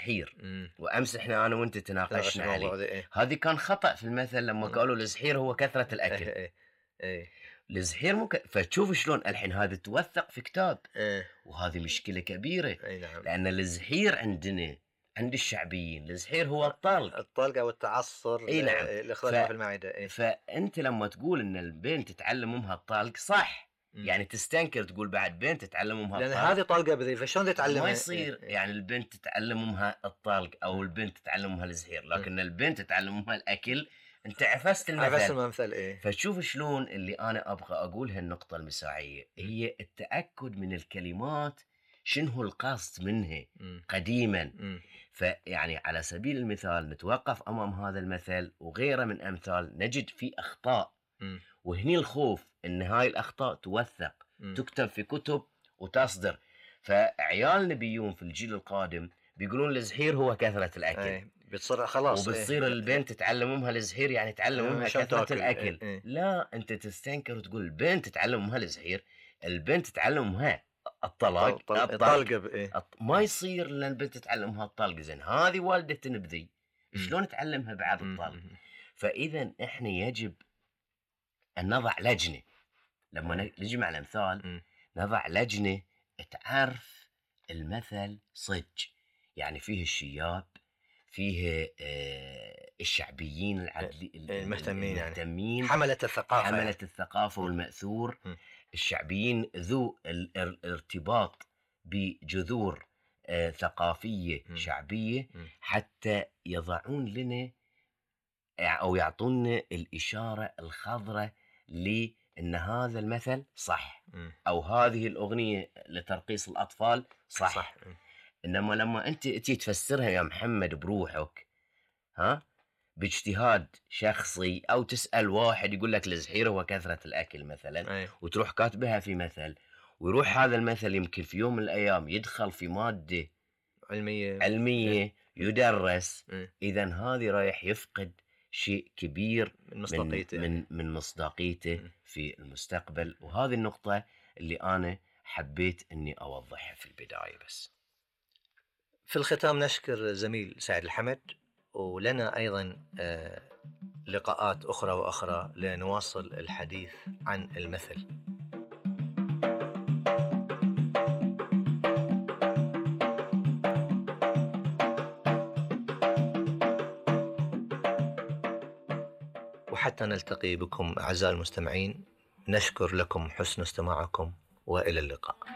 الزحير، وأمس إحنا أنا وأنت تناقشنا عليه. إيه؟ هذه كان خطأ في المثل لما قالوا الزحير هو كثرة الأكل. إيه. الزحير فتشوف شلون الحين هذا توثق في كتاب. وهذه مشكلة كبيرة. نعم. لأن الزحير عندنا عند الشعبيين الزحير هو الطلق أو التعصر. نعم. اللي خرج في المعدة. فأنت لما تقول إن البنت تتعلم أمها الطلق صح. يعني تستنكر تقول بعد بنت تتعلم أمها الطلق، لأن هذه طلقة بذي، فشلون تتعلمها؟ ما يصير. يعني البنت تتعلم أمها الطلق أو البنت تتعلم أمها الزحير، لكن البنت تتعلم أمها الأكل. أنت عفست المثل. فتشوف شلون اللي أنا أبغى أقولها النقطة المساعية هي التأكد من الكلمات شنو القصد منها قديما. فيعني على سبيل المثال نتوقف أمام هذا المثل وغيره من أمثال نجد فيه أخطاء. وهني الخوف إن هاي الأخطاء توثق تكتب في كتب وتصدر. فعيالنا بيون في الجيل القادم بيقولون الزحير هو كثرة الأكل. بتصير خلاص. وبتصير البنت تتعلم أمها الزحير يعني تعلم أمها كثرة الأكل. لا، أنت تستنكر وتقول البنت تتعلم أمها الزحير، البنت تتعلم أمها الطلاق. ما يصير لأن البنت تتعلم أمها الطلق. زين هذه والدة تنبذي، شلون تعلمها بعد الطلق؟ فإذا إحنا يجب أن نضع لجنة لما نجمع الأمثال. نضع لجنة تعرف المثل صج، يعني فيه الشياب، فيه الشعبيين المهتمين، حملة الثقافة والمأثور. الشعبيين ذو الارتباط بجذور ثقافية شعبية، حتى يضعون لنا أو يعطونا الإشارة الخضراء لأن هذا المثل صح، أو هذه الأغنية لترقيص الأطفال صح. إنما لما أنت تفسرها يا محمد بروحك باجتهاد شخصي، أو تسأل واحد يقول لك الزحير هو كثرة الأكل مثلا، وتروح كاتبها في مثل، ويروح هذا المثل يمكن في يوم من الأيام يدخل في مادة علمية يدرس. إذن هذه رايح يفقد شيء كبير من مصداقيته في المستقبل. وهذه النقطة اللي أنا حبيت أني أوضحها في البداية. بس في الختام نشكر زميل سعد الحمد، ولنا أيضا لقاءات أخرى وأخرى لنواصل الحديث عن المثل. وحتى نلتقي بكم أعزائي المستمعين، نشكر لكم حسن استماعكم وإلى اللقاء.